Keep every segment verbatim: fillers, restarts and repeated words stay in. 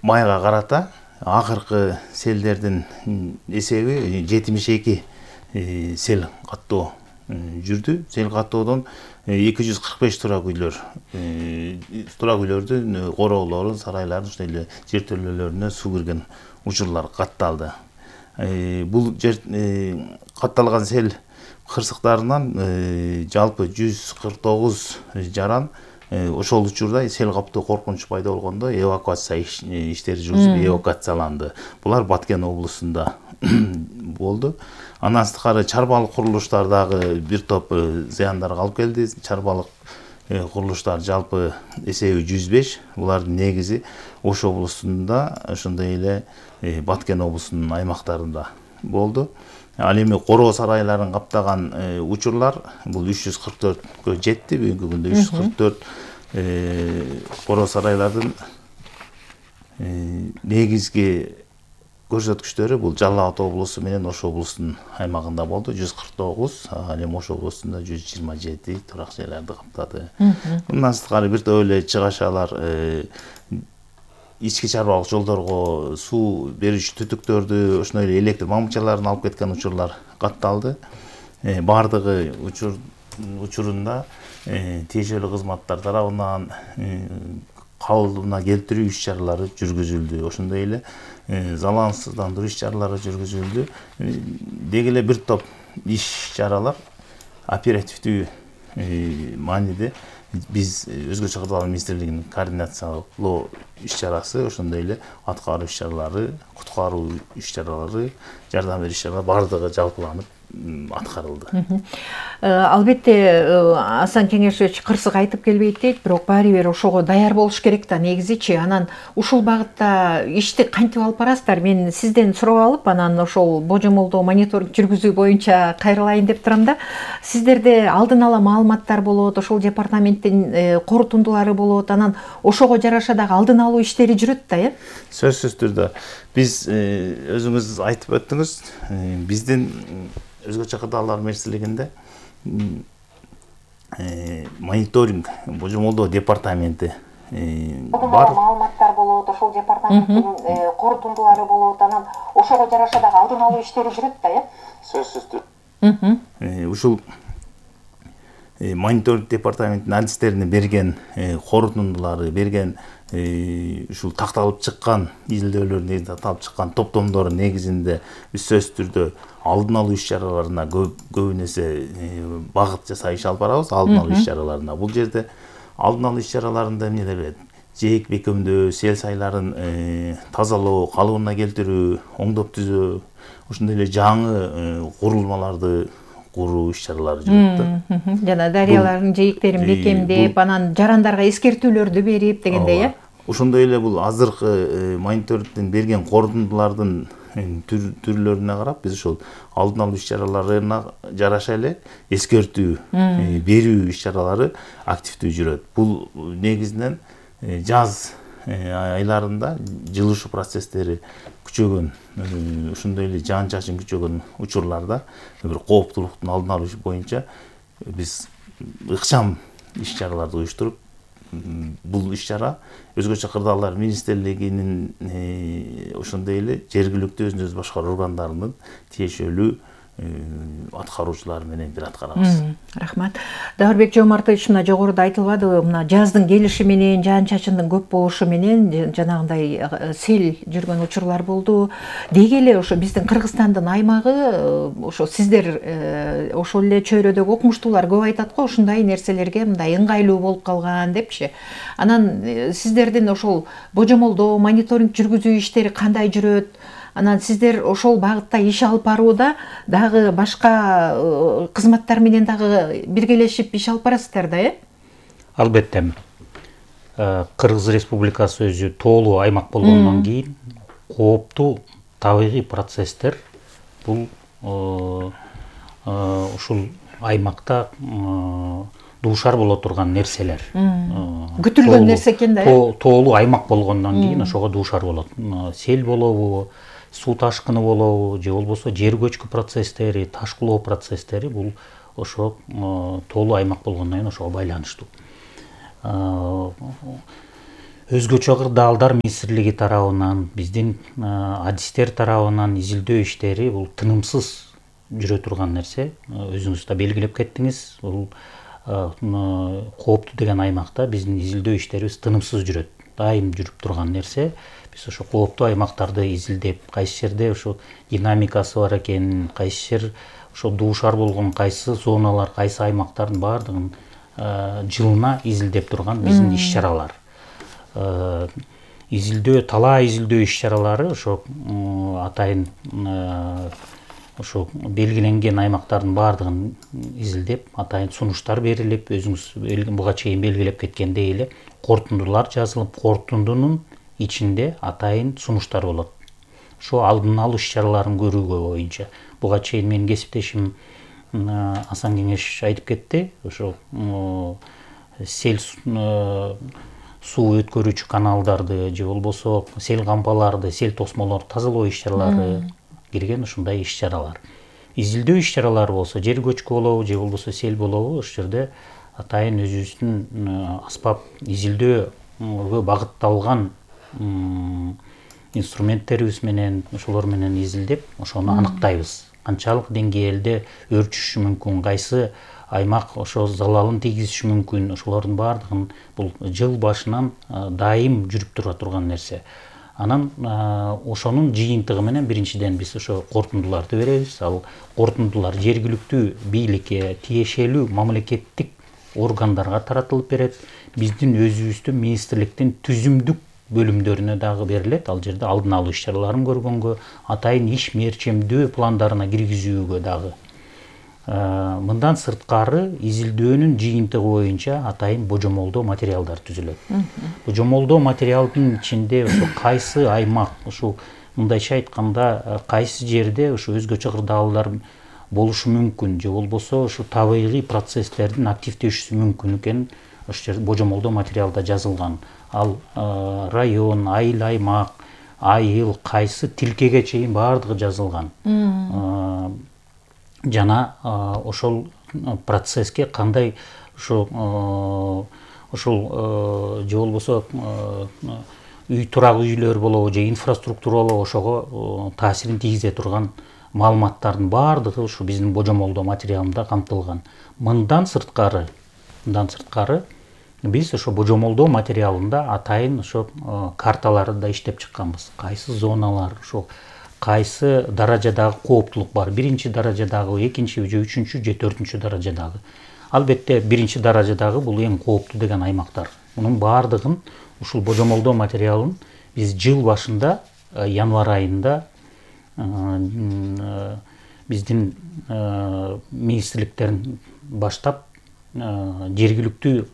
майга карата акыркы селдердин эсеби жетимиш эки сел каттоо жүрдү. Сел каттоодон эки жүз кырк беш турак үйлөр, турак үйлөрдүн короолору, сарайлардын ошондой эле жертөлөлөрүнө суу кирген учурлар катталды. Бул жер катталган сел кырсыктарынан жалпы жүз кырк тогуз жаран ошол учурда сел каптоо коркунуч пайда болгондо эвакуация иштери жүргүзүлүп эвакуацияланды. Булар Баткен облусунда болду. Андан сырткары чарбалык курулуштар дагы бир топ зыяндарга алып келди. Чарбалык курулуштар жалпы эсеби жүз беш. Булардын негизи Ош облусунда, ошондой эле Баткен облусунун аймактарында болду. Ал эми короо сарайларын каптаган учурлар бул үч жүз кырк төрткө жетти. Бүгүнкү күндө үч жүз кырк төрт короо сарайлардын негизги көрсөткүчтөрү бул Жалал Абад облусу менен Ош облусунун аймагында болду. жүз кырк тогуз, ал эми Ош облусунда жүз жыйырма жети турак жайларды каптады. Мындан сырткары бир топ эле чыгашалар ички чарбалык жолдорго суу берүүчү түтүктөрдү, ошондой эле электр мамычаларын алып кеткен учурлар катталды. Бардыгы учур учурунда тиешелүү кызматтар тарабынан калыбына келтирүү иш-чаралары жүргүзүлдү. Ошондой эле залалсыздандыруу иш-чаралары жүргүзүлдү. Деги эле бир топ иш-чаралар оперативдүү мааниде биз Өзгөчө кырдаалдар министрлигинин координациялоо иш-чарасы, ошондой эле аткаруу иш-чаралары, куткаруу иш-чаралары, жардам берүү иш-чаралары бардыгы жалпыланып аткарылды. Албетте Асан Кеңешович кырсык айтып келбейт дейт, бирок баары бир ошого даяр болуш керек да негизичи. Анан ушул багытта ишти кантип алып барасыздар? Мен сизден сурап алып, анан ошол божомолдоо мониторинг жүргүзүү боюнча кайрылайын деп турам да. Сиздерде алдын ала маалыматтар болот, ошол департаменттин корутундулары болот, анан ошого жараша дагы алдын алуу иштери жүрөт да, э? Сөзсүз түрдө. Биз өзүңүз айтып өттүңүз, биздин Өзгөчө кырдаалдар министрлигинде мониторинг божомолдоо департаменти бар. Маалыматтар болот, ошол департаменттин корутундулары болот, анан ошого жараша дагы алдын алуу иштери жүрөт да, э? Сөзсүз түрдө. Ушул мониторинг департаментинин адистерине берген корутундулары, берген ушул такталып чыккан изилдөөлөр негизинде такталып чыккан топтомдору негизинде биз сөзсүз түрдө алдын алуу иш-чараларына көбүн эсе багыт жасай иш алып барабыз. Алдын алуу иш-чараларына бул жерде алдын алуу иш-чараларында эмнелер берет? Жээк бекемдөө, сел сайларын тазалоо, калыбына келтирүү, оңдоп түзөө, ошондой эле жаңы курулмаларды куруу иш-чаралары жүрөт да. Жана дарыялардын жээктерин бекемдеп, анан жарандарга эскертүүлөрдү берип дегендей, э? Ошондой эле бул азыркы мониторингден берген корутундулардын түрлөрүнө карап биз ошол алдын алуу иш-чараларына жараша эле эскертүү берүү иш-чаралары активдүү жүрөт. Бул негизинен жаз айларында жылышуу процесстери күчөгөн, ошондой эле жаан чачын күчөгөн учурларда бир кооптулуктун алдын алуу боюнча биз ыкчам иш-чараларды уюштуруп, бул иш-чара Өзгөчө кырдаалдар министрлигинин ошондой эле жергиликтүү өзүн өзү башкаруу органдарынын тиешелүү аткаруучулары менен бир аткарабыз. Рахмат. Даурбек Жомартович, мына жогоруда айтылбадыбы, мына жаздын келиши менен, жаан чачындын көп болушу менен жанагындай сел жүргөн учурлар болду. Деги эле ошо биздин Кыргызстандын аймагы, ошо сиздер ошол эле чөйрөдөгү окумуштуулар көп айтат го, ушундай нерселерге мындай ыңгайлуу болуп калган депчи. Анан сиздердин ошол божомолдоо, мониторинг жүргүзүү иштери кандай жүрөт? Анан сиздер ошол багытта иш алып барууда дагы башка кызматтар менен дагы биргелешип иш алып барасыздар да, э? Албетте. Кыргыз Республикасы өзү тоолуу аймак болгондон кийин кооптуу табигый процесстер бул ушул аймакта дуушар боло турган нерселер. Күтүлгөн нерсе экен да, э? Тоолуу аймак болгондон кийин ошого дуушар болот. Сел болобу, суу ташкыны болобу, же болбосо жер көчкү процесстери, ташкылоо процесстери бул ошо тоолуу аймак болгондон кийин ошого байланыштуу. өзгөчө кырдаалдар министрлиги тарабынан, биздин адистер тарабынан изилдөө иштери бул тынымсыз жүрө турган нерсе. Өзүңүз да белгилеп кеттиңиз, бул кооптуу деген аймакта биздин изилдөө иштерибиз тынымсыз жүрөт, дайым жүрүп турган нерсе. Биз ошо кооптуу аймактарды изилдеп, кайсы жерде ошо динамикасы бар экен, кайсы жер ошо дуушар болгон кайсы зоналар, кайсы аймактардын баардыгын жылына изилдеп турган биздин иш-чаралар. Изилдөө, талаа изилдөө иш-чаралары ошо атайын ошо белгиленген аймактардын баардыгын изилдеп, атайын сунуштар берилип, өзүңүз буга чейин белгилеп кеткендей эле корутундулар жазылып, корутундунун ичинде атайын сунуштар болот. Ошо алдын алуу иш-чараларын көрүүгө боюнча. Буга чейин менин кесиптешим Асан Кеңеш айтып кетти. Ошо сел суу өткөрүүчү каналдарды же болбосо сел кампаларды, сел тосмолорду тазалоо иш-чаралары кирген ушундай иш-чаралар. Изилдөө иш-чаралары болсо жер көчкү болобу же болбосо сел болобу, ошол жерде атайын өзүбүздүн аспап изилдөөгө багытталган инструменттерибиз менен, ошолор менен изилдеп, ошону аныктайбыз. Канчалык деңгээлде өрчүшү мүмкүн, кайсы аймак ошо залалын тийгизиши мүмкүн, ошолордун баардыгын бул жыл башынан дайым жүрүп тура турган нерсе. Анан ошонун жыйынтыгы менен биринчиден биз ошо корутундуларды беребиз. Ал корутундулар жергиликтүү бийликке, тиешелүү мамлекеттик органдарга таратылып берет. Биздин өзүбүздүн министрликтин түзүмдүк бөлүмдөрүнө дагы берилет. Ал жерде алдын алуу иш-чараларын көргөнгө, атайын иш мерчемдөө пландарына киргизүүгө дагы. Мындан сырткары изилдөөнүн жыйынтыгы боюнча атайын божомолдоо материалдар түзүлөт. Божомолдоо материалдын ичинде ошо кайсы аймак, ушул мындайча айтканда кайсы жерде ошо өзгөчө кырдаалдар болушу мүмкүн же болбосо ошо табигый процесстердин активдешүүсү мүмкүн экенин ошол жерде божомолдоо материалда жазылган. Ал район, айыл аймак, айыл, кайсы тилкеге чейин баардыгы жазылган. Жана ошол процесске кандай ошол ошол же болбосо үй турак үйлөр болобу же инфраструктура болобу ошого таасирин тийгизе турган маалыматтардын баардыгы ушу биздин божомолдоо материалында камтылган. Мындан сырткары, мындан сырткары биз ошо божомолдоо материалында атайын ошо карталарды да иштеп чыкканбыз. Кайсы зоналар, ошо кайсы даражадагы кооптулук бар, биринчи даражадагы, экинчи же үчүнчү же төртүнчү даражадагы. Албетте биринчи даражадагы бул эң кооптуу деген аймактар. Мунун баардыгын ушул божомолдоо материалын биз жыл башында, январь айында биздин министрликтерин баштап жергиликтүү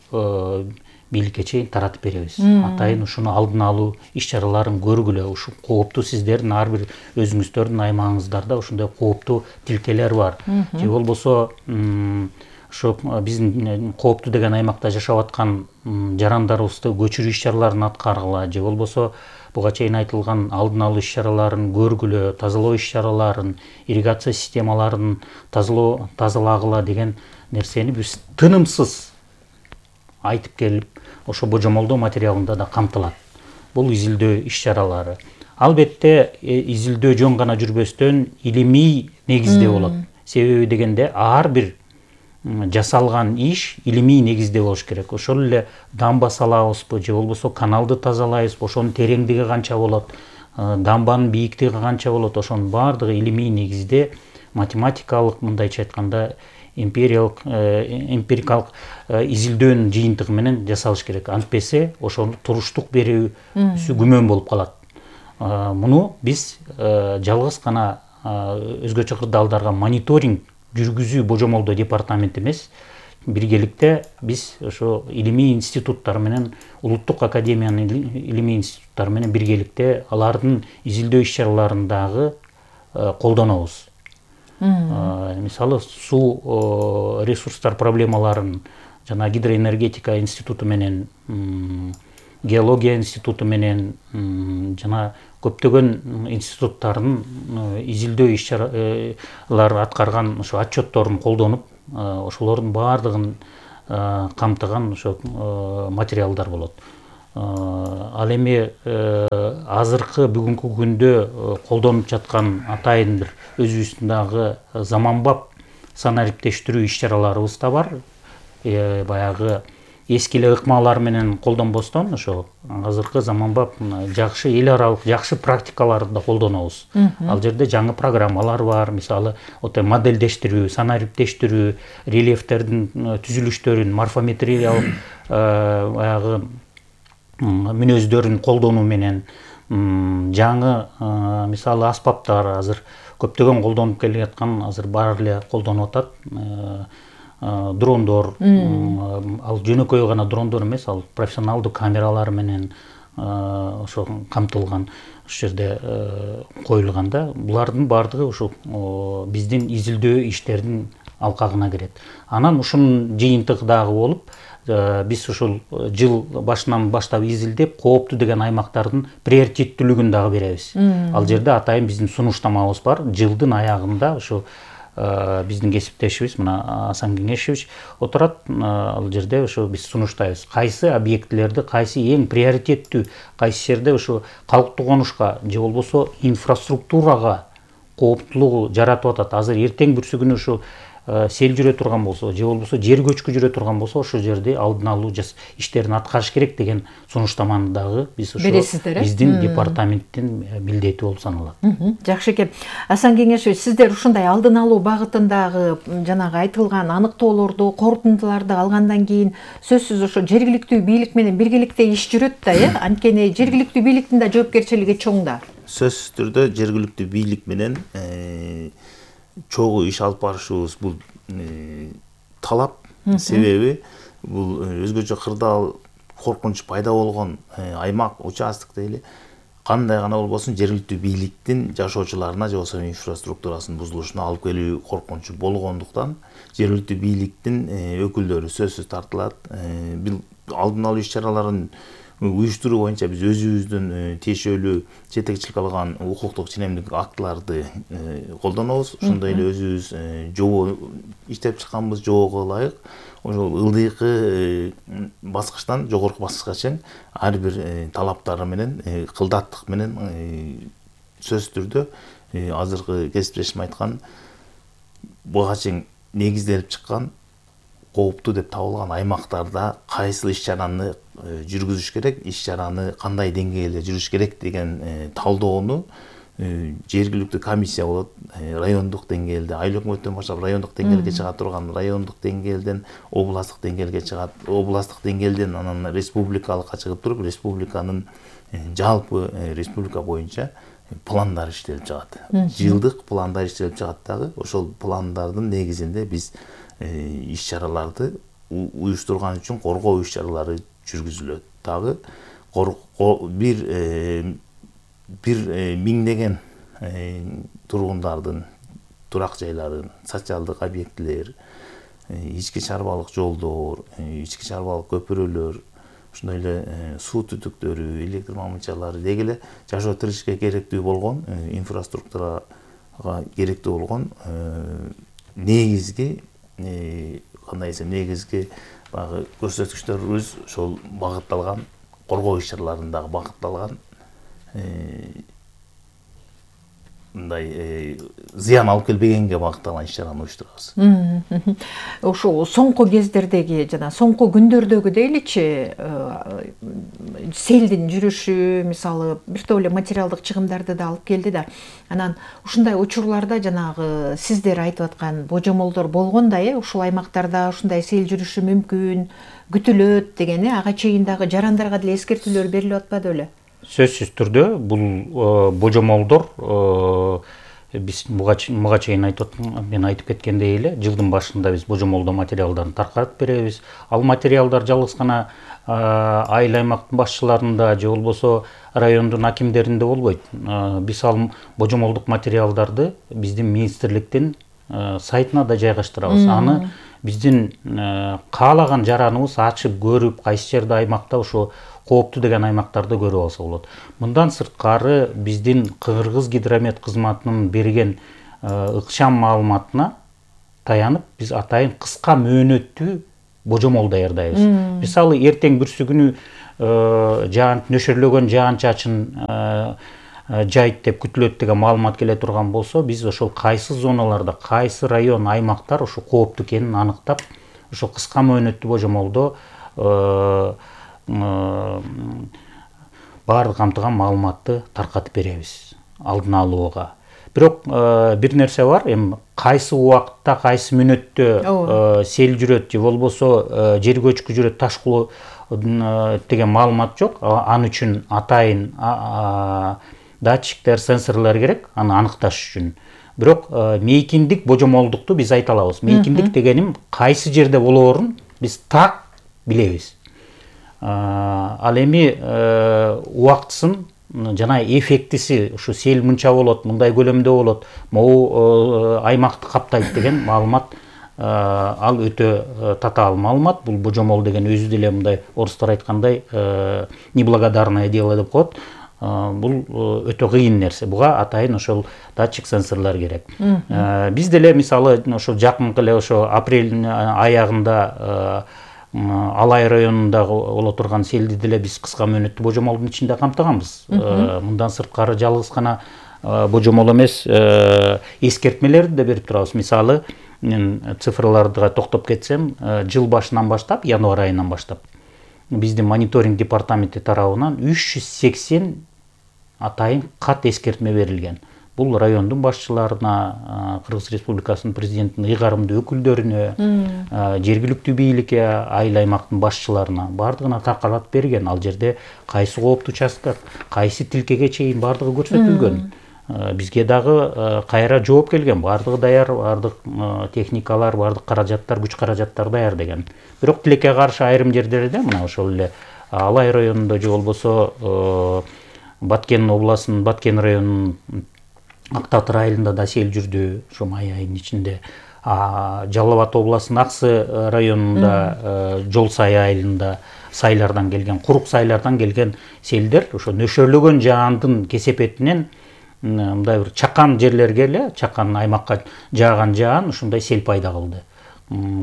бийликке чейин таратып беребиз. Атайын ушуну алдын алуу иш-чараларын көргүлө, ушу кооптуу сиздердин ар бир өзүңүздөрдүн аймагыңыздарда ушундай кооптуу тилкелер бар. Же болбосо ошо биздин кооптуу деген аймакта жашап аткан жарандарыбызды көчүрүү иш-чараларын аткаргыла, же болбосо буга чейин айтылган алдын алуу иш-чараларын көргүлө, тазалоо иш-чараларын, ирригация системаларын тазалоо тазалагыла деген нерсени биз тынымсыз айтып келип, ошо божомолдоо материалында да камтылат. Бул изилдөө иш-чаралары. Албетте изилдөө жөн гана жүрбөстөн илимий негизде болот. Себеби дегенде ар бир жасалган иш илимий негизде болуш керек. Ошол эле дамба салабызбы же болбосо каналды тазалайбызбы, ошонун тереңдиги канча болот, дамбанын бийиктиги канча болот, ошонун баардыгы илимий негизде математикалык, мындайча айтканда эмпириялык эмпирикалык изилдөөнүн жыйынтыгы менен жасалыш керек. Антпесе ошону туруштук берүүсү күмөн болуп калат. Муну биз жалгыз гана өзгөчө кырдаалдарга мониторинг жүргүзүү божомолдоо департаменти эмес, биргеликте биз ошо илимий институттар менен, улуттук академиянын илимий институттары менен биргеликте алардын изилдөө иш-чараларын дагы колдонобуз. Мисалы, суу ресурстар проблемаларын жана гидроэнергетика институту менен, геология институту менен жана көптөгөн институттардын изилдөө иш-чаралар аткарган ошо отчетторун колдонуп, ошолордун баардыгын камтыган ошо материалдар болот. Ал эми азыркы бүгүнкү күндө колдонуп жаткан атайын бир өзүбүздүн заманбап санариптештирүү иш чараларыбыз да бар. Баягы эски эле ыкмалар менен колдонбостон ошо азыркы заманбап жакшы эл аралык жакшы практикаларды да колдонобуз. Ал жерде жаңы программалар бар. Мисалы ото модельдештирүү, санариптештирүү, рельефтердин түзүлүштөрүн, морфометриялык баягы мүнөздөрүн колдонуу менен жаңы мисалы аспаптар азыр көптөгөн колдонуп келе жаткан, азыр баары эле колдонуп атат. Дрондор, ал жөнөкөй гана дрондор эмес, ал профессионалдуу камералар менен ошо камтылган, ошол жерде коюлган да. Булардын баардыгы ушул биздин изилдөө иштердин алкагына кирет. Анан ушунун жыйынтыгы дагы болуп, биз ушул жыл башынан баштап изилдеп, кооптуу деген аймактардын приоритеттүүлүгүн дагы беребиз. Ал жерде атайын биздин сунуштамабыз бар. Жылдын аягында ушу биздин кесиптешибиз мына Асан Кеңешевич отурат. Ал жерде ошо биз сунуштайбыз. Кайсы объектилерди, кайсы эң приоритеттүү, кайсы жерде ошо калктуу конушка же болбосо инфраструктурага кооптуулугу жаратып атат. Азыр эртең бүрсү ушу сел жүрө турган болсо, же болбосо жер көчкү жүрө турган болсо, ошол жерде алдын алуу иштерин аткарыш керек деген сунуштаманы дагы биз ошо биздин департаменттин милдети болуп саналат. Жакшы экен. Асан Кеңешевич, сиздер ушундай алдын алуу багытындагы жанагы айтылган аныктоолорду, корутундуларды алгандан кийин сөзсүз ошо жергиликтүү бийлик менен биргеликте иш жүрөт да, э? Анткени жергиликтүү бийликтин да жоопкерчилиги чоң да. Сөзсүз түрдө жергиликтүү бийлик менен чогуу иш алып барышыбыз бул талап. Себеби бул өзгөчө кырдаал коркунуч пайда болгон аймак, участок дейли, кандай гана болбосун жергиликтүү бийликтин жашоочуларына же болбосо инфраструктурасынын бузулушуна алып келүү коркунучу болгондуктан жергиликтүү бийликтин өкүлдөрү сөзсүз тартылат. Бул алдын алуу иш чараларын уюштуруу боюнча биз өзүбүздүн тиешелүү жетекчилик алган укуктук ченемдик актыларды колдонобуз. Ошондой эле өзүбүз жобо иштеп чыкканбыз, жобого ылайык. Ошол ылдыйкы баскычтан жогорку баскычка чейин ар бир талаптары менен, кылдаттык менен сөзсүз түрдө азыркы кесиптешим айткан буга чейин негизделип чыккан кооптуу деп табылган аймактарда кайсыл иш чараны жүргүзүш керек, иш чараны кандай деңгээлде жүрүш керек деген талдоону жергиликтүү комиссия болот, райондук деңгээлде, айыл өкмөттөн баштап райондук деңгээлге чыга турган, райондук деңгээлден областтык деңгээлге чыгат, областтык деңгээлден анан республикалыкка чыгып туруп, республиканын жалпы республика боюнча пландар иштелип чыгат. Жылдык пландар иштелип чыгат дагы. Ошол пландардын негизинде биз иш чараларды уюштурган үчүн коргоо иш чаралары жүргүзүлөт. Дагы бир бир миңдеген тургундардын турак жайларын, социалдык объектилер, ички чарбалык жолдор, ички чарбалык көпүрөлөр, ошондой эле суу түтүктөрү, электр мамычалары деги эле жашоо тиричиликке керектүү болгон инфраструктурага керектүү болгон негизги кандай десем негизги баягы көрсөткүчтөрүбүз ошол багытталган, коргоо иш чараларындагы багытталган мындай зыян алып келбегенге багытталган иш чараны уюштурабыз. Ошол соңку кездердеги жана соңку күндөрдөгү дейличи селдин жүрүшү мисалы бир топ эле материалдык чыгымдарды да алып келди да. Анан ушундай учурларда жанагы сиздер айтып аткан божомолдор болгондой, ушул аймактарда ушундай сел жүрүшү мүмкүн, күтүлөт деген, ага чейин дагы жарандарга деле эскертүүлөр берилип атпады беле? Сөзсүз түрдө бул божомолдор биз буга чейин айтып мен айтып кеткендей эле жылдын башында биз божомолдоо материалдарын таркатып беребиз. Ал материалдар жалгыз гана айыл аймактын башчыларында же болбосо райондун акимдеринде болбойт. Биз ал божомолдук материалдарды биздин министрликтин сайтына да жайгаштырабыз. Аны биздин каалаган жараныбыз ачып көрүп, кайсы жерде аймакта ошо кооптуу деген аймактарды көрүп алса болот. Мындан сырткары биздин Кыргыз гидромет кызматынын берген ыкчам маалыматына таянып биз атайын кыска мөөнөттүү божомол даярдайбыз. Мисалы эртең бүрсү күнү жаан нөшөрлөгөн жаан чачын жайт деп күтүлөт деген маалымат келе турган болсо, биз ошол кайсы зоналарда, кайсы район, аймактар ошо кооптуу экенин аныктап, ошо кыска мөөнөттүү божомолдо баардык камтыган маалыматты таркатып беребиз алдын алууга. Бирок бир нерсе бар, эми кайсы убакытта, кайсы мүнөттө сел жүрөт же болбосо жер көчкү жүрөт, ташкылоо деген маалымат жок. Аны үчүн атайын датчиктер, сенсорлор керек, аны аныкташ үчүн. Бирок мейкиндик божомолдукту биз айта алабыз. Мейкиндик дегеним кайсы жерде болоорун биз так билебиз. Ал эми убактысын жана эффектиси, ушу сел мынча болот, мындай көлөмдө болот, могу аймакты каптайт деген маалымат, ал өтө татаал маалымат. Бул божомол деген өзү деле мындай орустар айткандай неблагодарное дело деп коет. Бул өтө кыйын нерсе. Буга атайын ошол датчик, сенсорлор керек. Биз деле мисалы ошо жакынкы эле ошо апрель аягында Алай районунда боло турган селди деле биз кыска мөөнөттүү божомолдун ичинде камтыганбыз. Мындан сырткары жалгыз гана божомол эмес, эскертмелерди да берип турабыз. Мисалы, мен цифрларга токтоп кетсем, жыл башынан баштап, январь айынан баштап биздин мониторинг департаменти тарабынан үч жүз сексен атайын кат эскертме берилген. Бул райондун башчыларына, Кыргыз Республикасынын президентинин ыйгарымдуу өкүлдөрүнө, жергиликтүү бийликке, айыл аймактын башчыларына бардыгына таркатып берген. Ал жерде кайсы кооптуу участок, кайсы тилкеге чейин бардыгы көрсөтүлгөн. Бизге дагы кайра жооп келген, бардыгы даяр, бардык техникалар, бардык каражаттар, күч каражаттар даяр деген. Бирок тилекке каршы айрым жерлерде, мына ошол эле Алай районунда же болбосо Баткен областынын Баткен районунун Ак Татыр айылында да сел жүрдү, ошо май айынын ичинде. Жалал Абад областынын Аксы районунда Жол Сай айылында сайлардан келген, курук сайлардан келген селдер ошо нөшөрлөгөн жаандын кесепетинен мындай бир чакан жерлерге эле, чакан аймакка жааган жаан ушундай сел пайда кылды.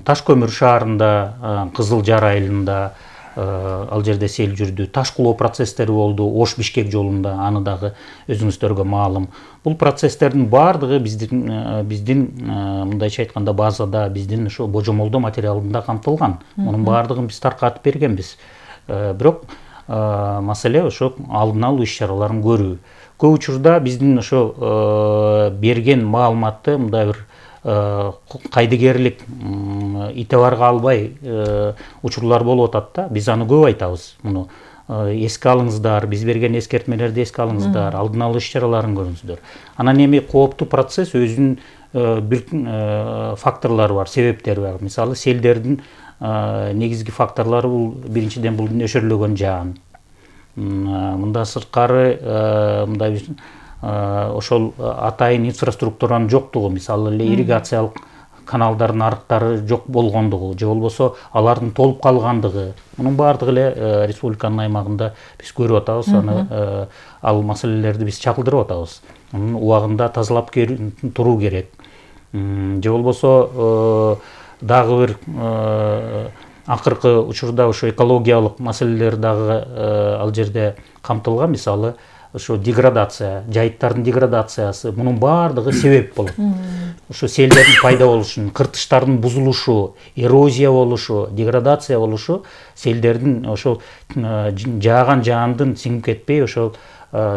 Таш көмүр шаарында, Кызыл Жар айылында ал жерде сел жүрдү. Ташкылоо процесстери болду Ош Бишкек жолунда, аны дагы өзүңүздөргө маалым. Бул процесстердин баардыгы биздин биздин мындайча айтканда базада, биздин ошо божомолдоо материалында камтылган. Мунун баардыгын биз таркатып бергенбиз. Бирок маселе ошо алдын алуу иш-чараларын көрүү. Көп учурда биздин ошо берген маалыматты мындай бир кайдыгерлик итебарга албай учурлар болуп атат да. Биз аны көп айтабыз. Муну эске алыңыздар, биз берген эскертмелерди эске алыңыздар, алдын алуу иш-чараларын көрүңүздөр. Анан эми кооптуу процесс өзүнүн бир факторлору бар, себептери бар. Мисалы, селдердин негизги факторлору бул биринчиден бул нөшөрлөгөн жаан. Мындан сырткары мындай ошол атайын инфраструктуранын жоктугу, мисалы эле ирригациялык каналдардын арыктары жок болгондугу же болбосо алардын толуп калгандыгы, мунун баардыгы эле республиканын аймагында биз көрүп атабыз. Аны ал маселелерди биз чагылдырып атабыз. Анын убагында тазалап туруу керек. Же болбосо дагы бир акыркы учурда ошо экологиялык маселелер дагы ал жерде камтылган. Мисалы, ошо деградация, жайыттардын деградациясы, мунун баардыгы себеп болот. Ошо селдердин пайда болушун, кыртыштардын бузулушу, эрозия болушу, деградация болушу селдердин ошол жааган жаандын сиңип кетпей ошол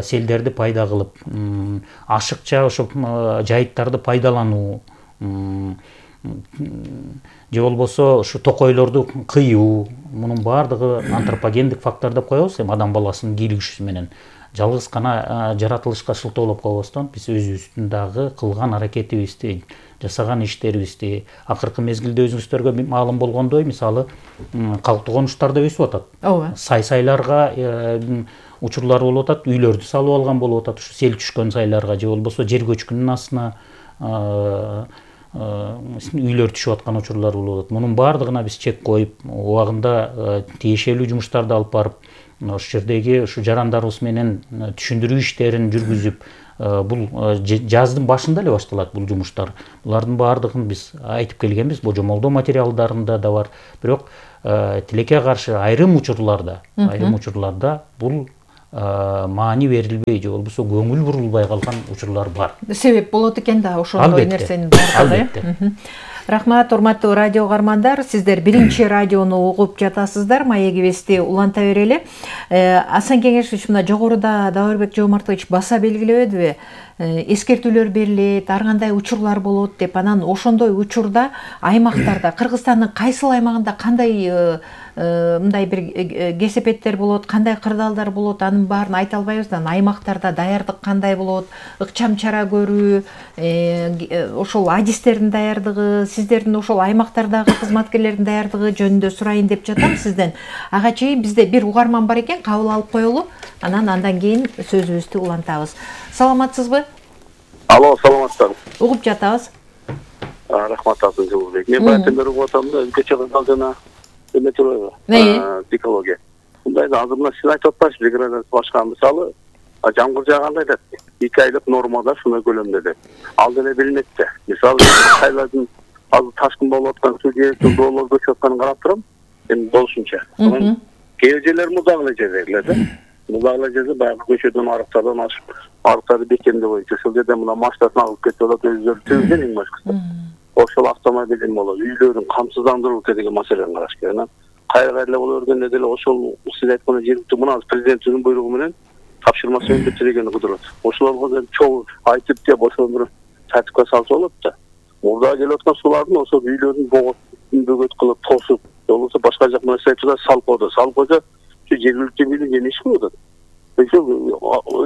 селдерди пайда кылып, ашыкча ошо жайыттарды пайдалануу, же болбосо ушу токойлорду кыюу, мунун баардыгы антропогендик фактор деп коебуз. Эми адам баласынын кийлигиши менен жалгыз гана жаратылышка шылтоолоп койбостон биз өзүбүздүн дагы кылган аракетибизди, жасаган иштерибизди, акыркы мезгилде өзүңүздөргө маалым болгондой, мисалы, калктуу конуштар да өсүп атат. Ооба. Сай-сайларга учурлар болуп атат, үйлөрдү салып алган болуп атат, ушу сел түшкөн сайларга же болбосо жер көчкүнүн астына үйлөр түшүп аткан учурлар болуп атат. Мунун баардыгына биз чек коюп, убагында тиешелүү жумуштарды алып барып, ошол жердеги ушу жарандарыбыз менен түшүндүрүү иштерин жүргүзүп, бул жаздын башында эле башталат бул жумуштар. Булардын баардыгын биз айтып келгенбиз, божомолдоо материалдарында да бар. Бирок тилекке каршы айрым учурларда айрым учурларда бул маани берилбей же болбосо көңүл бурулбай калган учурлар бар. Себеп болот экен да ошондой нерсенин баардыгы. Рахмат, урматтуу радио угармандар, сиздер биринчи радиону угуп жатасыздар. Маегибизди уланта берели. Асан Кеңешович мына жогоруда Даурбек Жомартович баса белгилебедиби? Эскертүүлөр берилет, ар кандай учурлар болот деп, анан ошондой учурда аймактарда, Кыргызстандын кайсыл аймагында кандай мындай бир кесепеттер болот, кандай кырдаалдар болот, анын баарын айта албайбыз да. Аймактарда даярдык кандай болот, ыкчам чара көрүү, ошол адистердин даярдыгы, сиздердин ошол аймактардагы кызматкерлердин даярдыгы жөнүндө сурайын деп жатам сизден. Ага чейин бизде бир угарман бар экен, кабыл алып коелу, анан андан кийин сөзүбүздү улантабыз. Саламатсызбы? Алло, саламатсызбы? Угуп жатабыз. Рахмат Алтын Жылбек. Мен баягы угуп атам да, өзгөчө кырдаал жана эметроева. Экология. Мындай да азыр мына сиз айтып атпайсызбы, регламент башка мисалы, жамгыр жааганда айтат, эки айлык нормада шундай көлөмдө деп. Ал деле билинет да. Мисалы, кайлардын азыр ташкын болуп аткан суу жээктен доолор көчүп атканын карап турам, эми болушунча. Анан кээ жерлер музак эле жердегилер да. Музак эле жерде баягы көчөдөн арыктардан ашып, арыктарды бекемдөө боюнча ошол жерде мына машинасына алып кетип атат, өздөрү түзгөн эң башкысы. Ошол автомобилин болот, үйлөрүн камсыздандыруу деген маселени караш керек. Анан кайра эле боло бергенде деле ошол сиз айткандай жергиликтүү мына президенттин буйругу менен тапшырмасы менен бүтүрөгөнү кыдырат. Ошолорго чоң айтып деп ошону тартипке салса болот да. Мурда келип аткан суулардын ошол үйлөрүн богот, бөгөт кылып тосуп, болбосо башка жак менен айтса салкоодо, салкоодо жергиликтүү бийлик эмне иш кылып атат? Ошол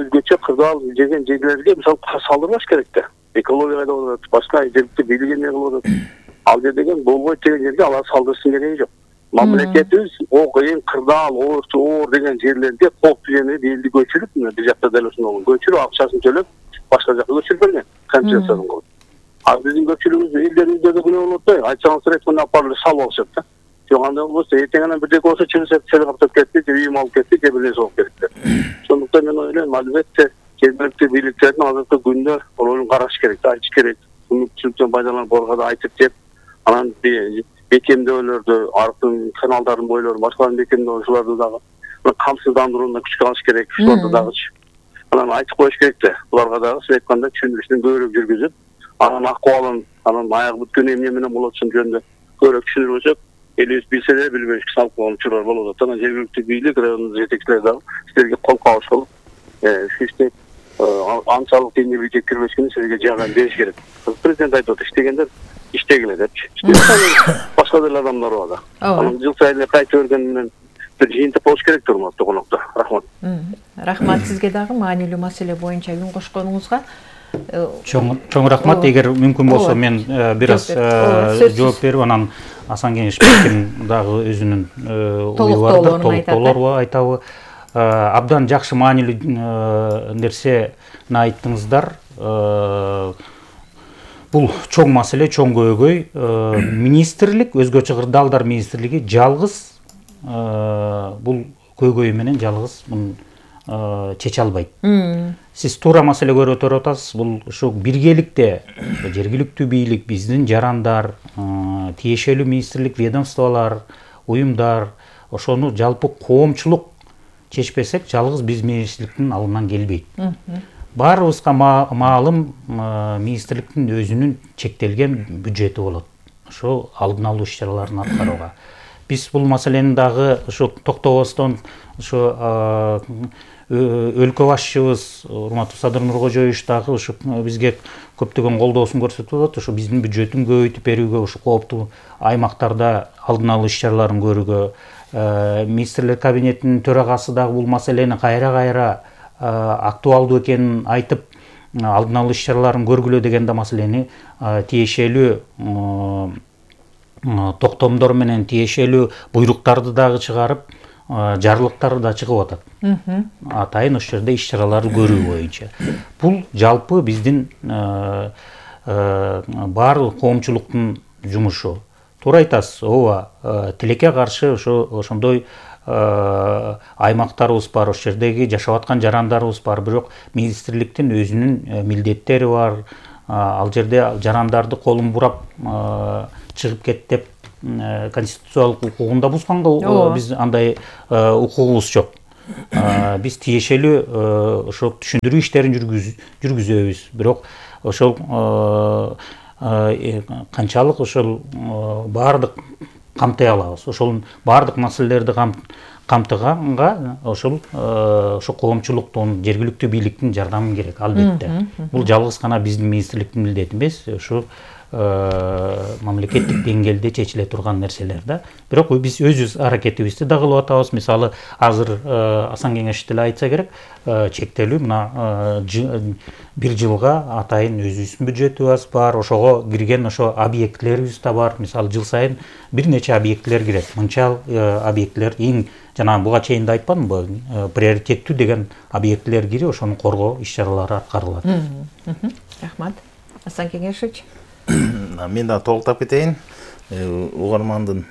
өзгөчө кырдаал жеген жерлерге мисалы салдырбаш керек да. Экология кайда болот, башка жергиликтүү бийлик эмне кылып атат? Ал жер деген болбойт деген жерге алар салдырыштын кереги жок. Мамлекетибиз о кыйын кырдаал, оорчу оор деген жерлерге коопсуз жерге элди көчүрүп, мына бир жакта деле ошондой көчүрүп, акчасын төлөп, башка жакка көчүрүп берген, компенсациясын кылып. А биздин көпчүлүгүбүз элдерибизде да күнөө болот да, айтсаңыз ресми апарып салып алышат да. Жок андай болбосо эртең анан бирдеке болсо чыгышат, сел каптап кетти, же үйүм алып кетти, же бир нерсе болуп кетти. Сондуктан мен ойлойм, албетте жергиликтүү бийликтердин азыркы күндө ролун караш керек, айтыш керек. Мүмкүнчүлүктөн пайдаланып оргада айтып деп, анан бекемдөөлөрдү, арыктын каналдардын бойлорун, башкаларын бекемдөө ошолорду дагы камсыздандырууна күч салыш керек, ошолорду дагычы. Анан айтып коюш керек да, буларга дагы сиз айткандай түшүндүрүштүн көбүрөөк жүргүзүп, анан акыбалын, анан аягы бүткөн эмне менен болот жөнүндө көбүрөөк түшүндүрсөк, элибиз билсе деле билбеш салып койгон учурлар болуп атат. Анан жергиликтүү бийлик, райондун жетекчилери дагы силерге кол кабыш болуп, иштеп анчалык деңгээлге жеткирбешкени силерге жардам бериш керек. Президент айтып атат, иштегендер иштегиле депчи. Башка деле адамдар бар да. Анан жыл сайын кайта берген менен бир жыйынтык болуш керек урматтуу коноктор. Рахмат. Рахмат сизге дагы маанилүү маселе боюнча үн кошконуңузга. Чоң чоң рахмат. Эгер мүмкүн болсо мен бир аз жооп берип, анан Асан Кеңешовичтин дагы өзүнүн ою бар да, толуктоолорго айтабы. Абдан жакшы маанилүү нерсени айттыңыздар. Бул чоң маселе, чоң көйгөй. Министрлик, өзгөчө кырдаалдар министрлиги жалгыз бул көйгөй менен жалгыз муну чече албайт. Сиз туура маселе көрүп атасыз. Бул ушу биргеликте жергиликтүү бийлик, биздин жарандар, тиешелүү министрлик, ведомстволор, уюмдар ошону жалпы коомчулук чечпесек, жалгыз биз министрликтин алынан келбейт. Баарыбызга маалым министрликтин өзүнүн чектелген бюджети болот. Ошо алдын алуу иш-чараларын аткарууга. Биз бул маселени дагы ушу токтобостон ушу өлкө башчыбыз урматтуу Садыр Нуркожоевич дагы ушу бизге көптөгөн колдоосун көрсөтүп атат. Ушу биздин бюджеттин көбөйтүп берүүгө, ушу кооптуу аймактарда алдын алуу иш-чараларын көрүүгө, министрлер кабинетинин төрагасы дагы бул маселени кайра-кайра актуалдуу экенин айтып, алдын алуу иш-чараларын көргүлө деген да маселени тиешелүү токтомдор менен тиешелүү буйруктарды дагы чыгарып, жарлыктары да чыгып атат. Атайын ошол жерде иш-чараларды көрүү боюнча. Бул жалпы биздин баардык коомчулуктун жумушу. Туура айтасыз, ооба, тилекке каршы ошондой аймактарыбыз бар, ошол жердеги жашап аткан жарандарыбыз бар, бирок министрликтин өзүнүн милдеттери бар. Ал жерде жарандарды колун бурап чыгып кет деп конституциялык укугун да бузганга биз андай укугубуз жок. Биз тиешелүү ошо түшүндүрүү иштерин жүргүзөбүз. Бирок ошол канчалык ошол баардык камтый алабыз. Ошол баардык маселелерди камтыганга ошол ошо коомчулуктун, жергиликтүү бийликтин жардамы керек албетте. Бул жалгыз гана биздин министрликтин милдети эмес, ошо мамлекеттик деңгээлде чечиле турган нерселер да. Бирок биз өз аракетибизди да кылып атабыз. Мисалы, азыр Асан Кеңеш деле айтса керек, чектелүү мына бир жылга атайын өзүбүздүн бюджетибиз бар, ошого кирген ошо объектлерибиз да бар. Мисалы, жыл сайын бир нече объектлер кирет. Мынча объектлер эң жана буга чейин да айтканмынбы, приоритеттүү деген объектлер кирип, ошону коргоо иш-чаралары аткарылат. Рахмат. Асан Кеңешович. Мен да толуктап кетейин. Угармандын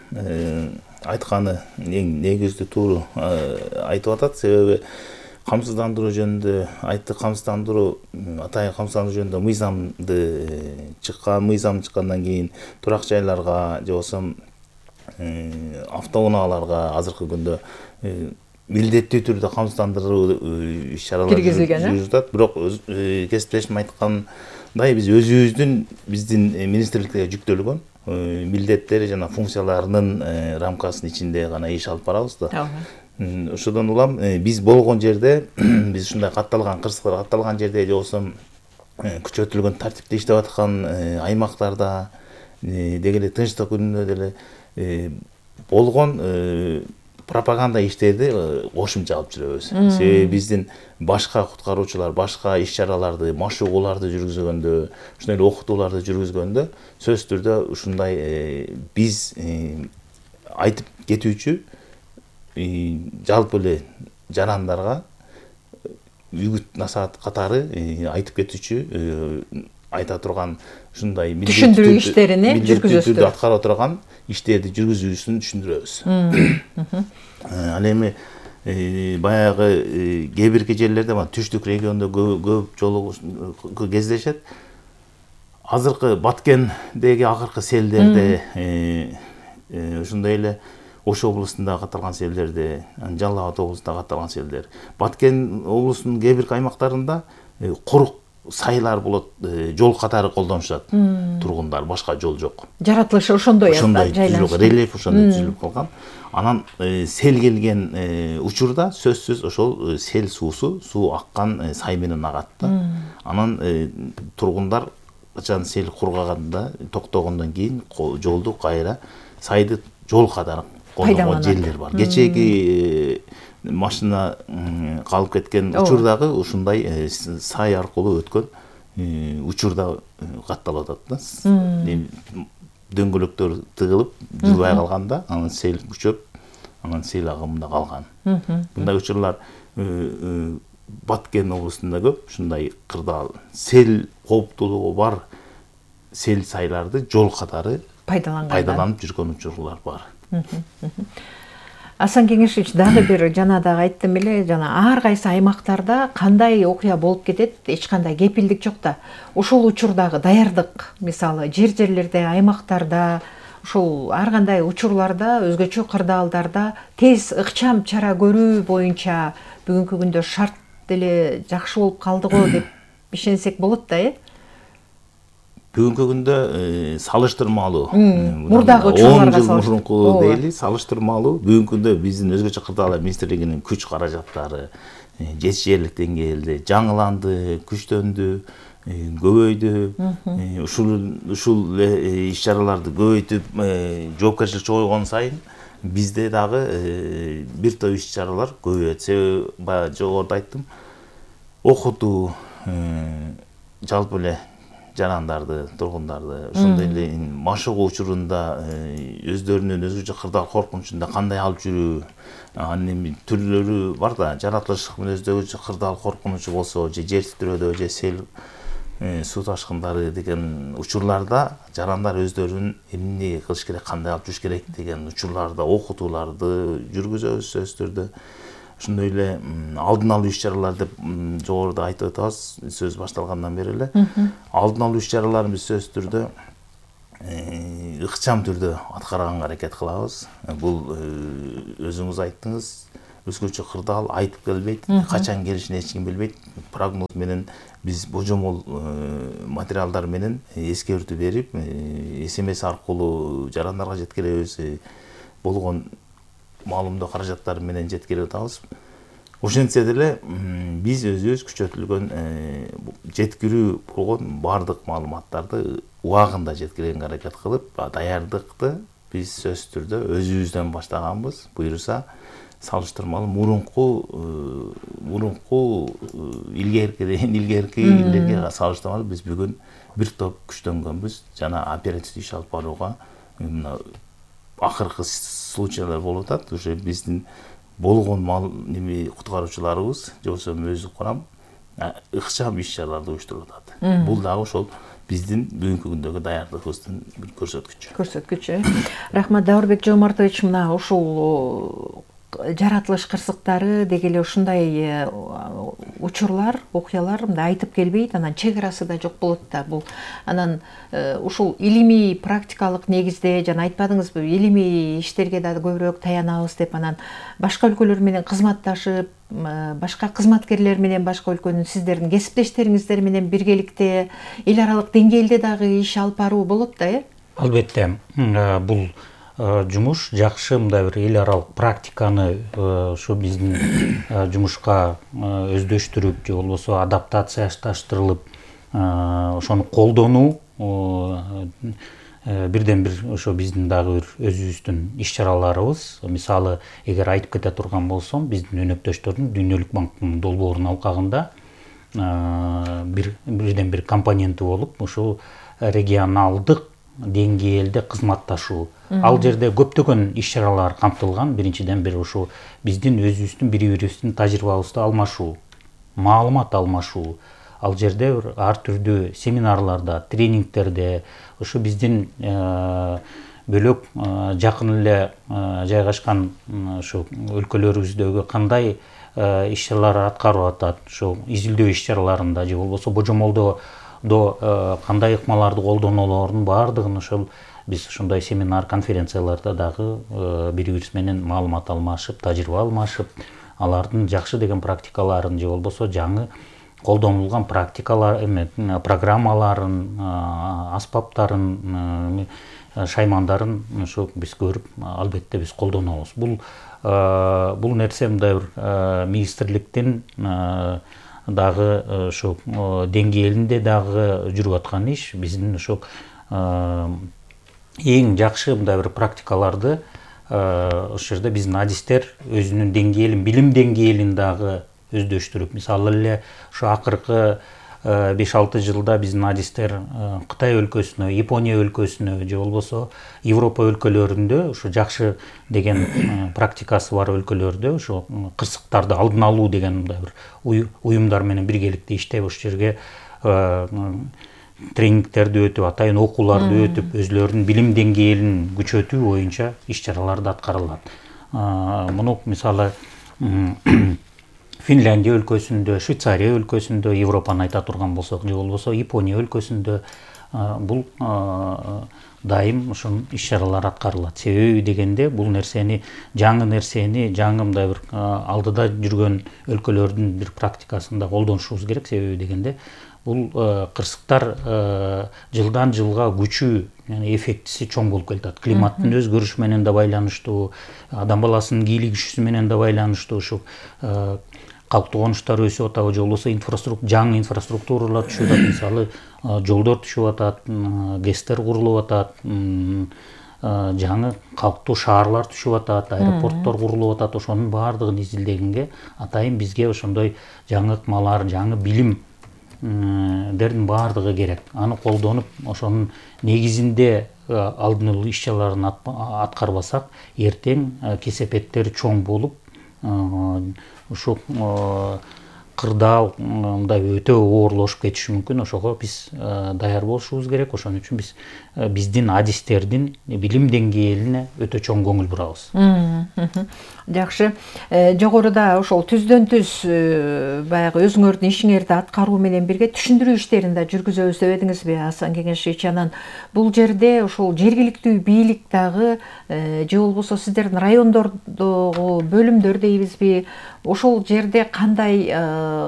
айтканы эң негиздүү тууру айтып атат. Себеби камсыздандыруу жөнүндө айтты. Камсыздандыруу, атайын камсыздандыруу жөнүндө мыйзамды чыккан, мыйзам чыккандан кийин турак жайларга же болбосо автоунааларга азыркы күндө милдеттүү түрдө камсыздандыруу иш-чаралары жүргүзүлүп атат. Бирок кесиптешим айткандай, биз өзүбүздүн биздин министрликке жүктөлгөн милдеттери жана функцияларынын рамкасынын ичинде гана иш алып барабыз да. Ошодон улам биз болгон жерде, биз ушундай катталган кырсыктар катталган жерде же болбосо күчөтүлгөн тартипте иштеп аткан аймактарда деги эле тынчтык күнүндө деле болгон пропаганда иштерди кошумча алып жүрөбүз. Себеби биздин башка куткаруучулар башка иш-чараларды, машыгууларды жүргүзгөндө, ушундай эле окутууларды жүргүзгөндө сөзсүз түрдө ушундай биз айтып кетүүчү жалпы эле жарандарга үгүт насаат катары айтып кетүүчү айта турган ушундай түшүндүрүү иштерини жүргүзөбүз. Аткара турган иштерди жүргүзүүсүн түшүндүрөбүз. Ал эми баягы кээ бирки жерлерде түштүк региондо көп жолу кездешет. Азыркы Баткендеги акыркы селдерде ушундай эле Ош облусунда катталган селдерде, Жалал Абад облусунда катталган селдер. Баткен облусунун кээ бирки аймактарында курук сайлар болот, жол катары колдонушат. Тургундар, башка жол жок. Жаратылышы ошондой жайланышкан. Рельеф ошондой түзүлүп калган. Анан сел келген учурда сөзсүз ошол сел суусу, суу аккан сай менен агат да. Анан тургундар качан сел кургаганда, токтогондон кийин жолду кайра сайды жол катары колдонгон жерлер бар. Кечеги машина калып кеткен учурдагы ушундай сай аркылуу өткөн учурда катталып атат да. Дөңгөлөктөр тыгылып жылбай калганда, анан сел күчөп, анан сел агымында калган. Мындай учурлар Баткен облусунда көп, ушундай кырдаал сел кооптуулугу бар сел сайларды жол катары пайдаланып жүргөн учурлар бар. Асан Кеңешович, дагы бир жана дагы айттым эле, жана ар кайсы аймактарда кандай окуя болуп кетет, эч кандай кепилдик жок да. Ошол учурдагы даярдык, мисалы, жер-жерлерде, аймактарда, ушул ар кандай учурларда, өзгөчө кырдаалдарда тез ыкчам чара көрүү боюнча бүгүнкү күндө шарт деле жакшы болуп калды го деп ишенсек болот да, э? Бүгүнкү күндө салыштырмалуу, мурдагы учурларга салыштырмалуу дейли, салыштырмалуу. Бүгүнкү күндө биздин өзгөчө кырдаалдар министрлигинин күч каражаттары жетишээрлик деңгээлде жаңыланды, күчтөндү, көбөйдү. Ушул ушул иш-чараларды көбөйтүп, жоопкерчилик чогойгон сайын бизде дагы бир топ иш-чаралар көбөйөт. Себеби баягы жогоруда айттым, окутуу, жалпы эле жарандарды, тургундарды, ошондой эле машыгуу учурунда өздөрүнүн өзгөчө кырдаал коркунучунда кандай алып жүрүү, анын эми түрлөрү бар да, жаратылыштык мүнөздөгү кырдаал коркунучу болсо, же жер титирөөдө, же сел суу ташкындары деген учурларда жарандар өздөрүнүн эмне кылыш керек, кандай алып жүрүш керек деген учурларда окутууларды жүргүзөбүз сөзсүз түрдө. Ошондой эле алдын алуу иш-чаралар деп жогоруда айтып атабыз, сөз башталгандан бери эле. Алдын алуу иш-чараларын биз сөзсүз түрдө ыкчам түрдө аткарганга аракет кылабыз. Бул өзүңүз айттыңыз, өзгөчө кырдаал, айтып келбейт, качан келишин эч ким билбейт. Прогноз менен биз божомол материалдар менен эскертүү берип, смс аркылуу жарандарга жеткиребиз, болгон маалымдоо каражаттары менен жеткирип атабыз. Ошентсе деле биз өзүбүз күчөтүлгөн жеткирүү болгон баардык маалыматтарды убагында жеткиргенге аракет кылып, даярдыкты биз сөзсүз түрдө өзүбүздөн баштаганбыз. Буюрса салыштырмалуу мурунку мурунку илгеркиден илгерки илерге салыштырмалуу биз бүгүн бир топ күчтөнгөнбүз жана оперативдик иш алып барууга мына акыркы случайлар болуп атат. Уже биздин болгон мал неме куткаруучуларыбыз же болбосо өзү курам ыкчам иш чараларды уюштуруп атат. Бул дагы ошол биздин бүгүнкү күндөгү даярдыгыбыздын бир көрсөткүчү. Көрсөткүчү. Рахмат Даурбек Жомартович, мына ушул жаратылыш кырсыктары деги эле ушундай учурлар, окуялар мындай айтып келбейт, анан чек арасы да жок болот да. Бул анан ушул илимий практикалык негизде жана айтпадыңызбы, илимий иштерге да көбүрөөк таянабыз деп, анан башка өлкөлөр менен кызматташып, башка кызматкерлер менен башка өлкөнүн сиздердин кесиптештериңиздер менен биргеликте эл аралык деңгээлде дагы иш алып баруу болот да, э? Албетте. Бул жумуш жакшы мындай бир эл аралык практиканы ушу биздин жумушка өздөштүрүп же болбосо адаптацияштырылып ошону колдонуу бирден бир ошо биздин дагы бир өзүбүздүн иш чараларыбыз. Мисалы, эгер айтып кете турган болсом, биздин өнөктөштөрдүн Дүйнөлүк банктын долбоорунун алкагында бир бирден бир компоненти болуп, ушул регионалдык деңгээлде кызматташуу. Ал жерде көптөгөн иш чаралар камтылган. Биринчиден бир ушу биздин өзүбүздүн бири-бирибиздин тажрыйбабызды алмашуу, маалымат алмашуу. Ал жерде ар түрдүү семинарларда, тренингтерде, ушу биздин бөлөк жакын эле жайгашкан ушу өлкөлөрүбүздөгү кандай иш чаралар аткарып атат, ушу изилдөө иш чараларында же болбосо божомолдо кандай ыкмаларды колдонулорунун баардыгын ошол биз ушундай семинар, конференцияларда дагы бири-бирибиз менен маалымат алмашып, тажрыйба алмашып, алардын жакшы деген практикаларын же болбосо жаңы колдонулган практикалар эме программаларын, аспаптарын, шаймандарын ушу биз көрүп, албетте биз колдонобуз. Бул бул нерсе мындай бир министрликтин дагы ошо деңгээлинде дагы жүрүп аткан иш. Биздин ошо эң жакшы мындай бир практикаларды ошол жерде биздин адистер өзүнүн деңгээлин, билим деңгээлин дагы өздөштүрүп, мисалы эле ушу акыркы беш алты жылда биздин адистер Кытай өлкөсүнө, Япония өлкөсүнө же болбосо Европа өлкөлөрүндө ушу жакшы деген практикасы бар өлкөлөрдө ушу кырсыктарды алдын алуу деген мындай бир уюмдар менен биргеликте иштеп, ошол жерге тренингтерди өтүп, атайын окууларды өтүп, өзүлөрүнүн билим деңгээлин күчөтүү боюнча иш чараларды аткарылат. Муну мисалы Финляндия өлкөсүндө, Швейцария өлкөсүндө, Европаны айта турган болсок, же болбосо Япония өлкөсүндө бул дайым ушул иш чаралар аткарылат. Себеби дегенде бул нерсени, жаңы нерсени, жаңы мындай бир алдыда жүргөн өлкөлөрдүн бир практикасында колдонушубуз керек. Себеби дегенде бул кырсыктар жылдан жылга күчү, эффектиси чоң болуп келатат. Климаттын өзгөрүшү менен да байланыштуу, адам баласынын кийлигишүүсү менен да байланыштуу, ушу калктуу конуштар өсүп атабы, же болбосо инфраструктура, жаңы инфраструктуралар түшүп атат, мисалы жолдор түшүп атат, ГЭСтер курулуп атат, жаңы калктуу шаарлар түшүп атат, аэропорттор курулуп атат. Ошонун баардыгын изилдегенге атайын бизге ошондой жаңы ыкмалар, жаңы билим дердин баардыгы керек. Аны колдонуп, ошонун негизинде алдын алуу иш чараларын аткарбасак, эртең кесепеттери чоң болуп, ушу кырдаал мындай өтө оорлошуп кетиши мүмкүн. Ошого биз даяр болушубуз керек. Ошон үчүн биз биздин адистердин билим деңгээлине өтө чоң көңүл бурабыз. Жакшы. Жогоруда ошол түздөн түз баягы өзүңөрдүн ишиңерди аткаруу менен бирге түшүндүрүү иштерин да жүргүзөбүз дебедиңизби, Асан Кеңешевич? Анан бул жерде ошол жергиликтүү бийлик дагы же болбосо сиздердин райондордогу бөлүмдөр дейбизби, ошол жерде кандай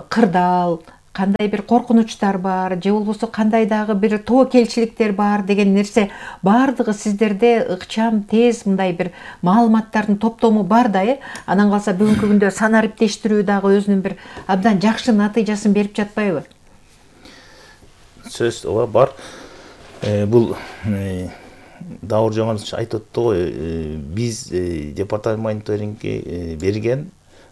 кырдаал, кандай бир коркунучтар бар, же болбосо кандай дагы бир тобокелчиликтер бар деген нерсе баардыгы сиздерде ыкчам, тез мындай бир маалыматтардын топтому бар да, э? Анан калса бүгүнкү күндө санариптештирүү дагы өзүнүн бир абдан жакшы натыйжасын берип жатпайбы? Сөз ооба бар. Бул Дауры Жомартович айтып өттү го, биз департамент мониторингге берген